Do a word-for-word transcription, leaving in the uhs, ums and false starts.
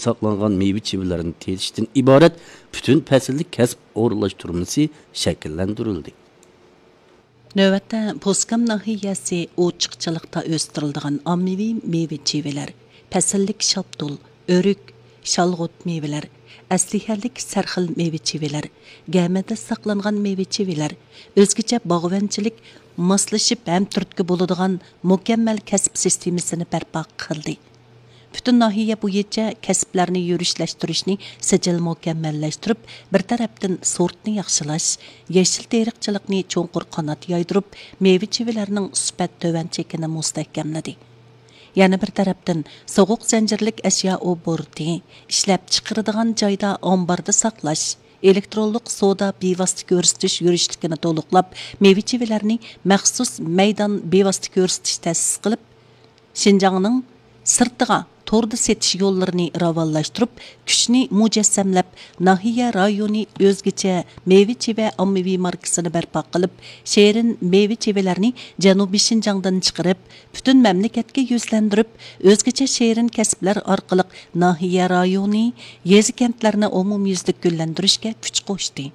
ساقلانغان مېۋە چىۋىلەرنى تېتىشتىن ئىبارەت پۈتۈن پەسىللىك كەسىپ ئورۇنلاشتۇرمىسى شەكىللەندۈرۈلدى. نۆۋەتتە، پوسكام ناھىيەسى ئوچۇقچىلىقتا ئۆستۈرۈلىدىغان ئاممىۋى مېۋە چىۋىلەر، پەسىللىك شاپتۇل، ئۆرۈك، شالغۇت مېۋىلەر، ئەسلىھەلىك سەرخىل مېۋە چىۋىلەر، گەمىدە ساقلانغان مېۋە چىۋىلەر، ئۆزگىچە باغۋەنچىلىك، ماسلىشىپ ھەم تۈرتكە بولىدىغان مۇكەممەل كەسىپ سىستېمىسىنى بەرپا قىلدى. پۈتۈن ناھىيە بويىچە كەسىپلەرنى يۈرۈشلەشتۈرۈشنى سىجىل مۇكەممەللەشتۈرۈپ، بىر تەرەپتىن سورتنى ياخشىلاش، يېشىل تېرىقچىلىقنى چوڭقۇر قانات يايدۇرۇپ، مېۋە چىۋىلەرنىڭ سۈپەت تۆۋەن چېكىنى مۇستەھكەملىدى. يەنە بىر تەرەپتىن، سوغۇق زەنجىرلىك ئەشيا ئوبوروتى، ئىشلەپچىقىرىدىغان جايدا ئامباردا ساقلاش، ئېلېكترونلۇق سودا بىۋاسىتە كۆرسىتىش يۈرۈشلۈكىنى تولۇقلاپ، مېۋە چىۋىلەرنى مەخسۇس مەيدان بىۋاسىتە كۆرسىتىش تەسىس قىلىپ، شىنجاڭنىڭ سىرتىغا توردا سېتىش يوللىرىنى راۋانلاشتۇرۇپ، كۈچنى مۇجەسسەملەپ، ناھىيە رايونى ئۆزگىچە مېۋە چىۋە ئاممىۋى ماركىسىنى بەرپا قىلىپ، شېرىن مېۋە چىۋىلەرنى جەنۇبىي شىنجاڭدىن چىقىرىپ، پۈتۈن مەملىكەتكە يۈزلەندۈرۈپ، ئۆزگىچە شېرىن كەسىپلەر ئارقىلىق ناھىيە رايونى، يېزا كەنتلەرنى ئومۇميۈزلۈك گۈللەندۈرۈشكە كۈچ قوشتى.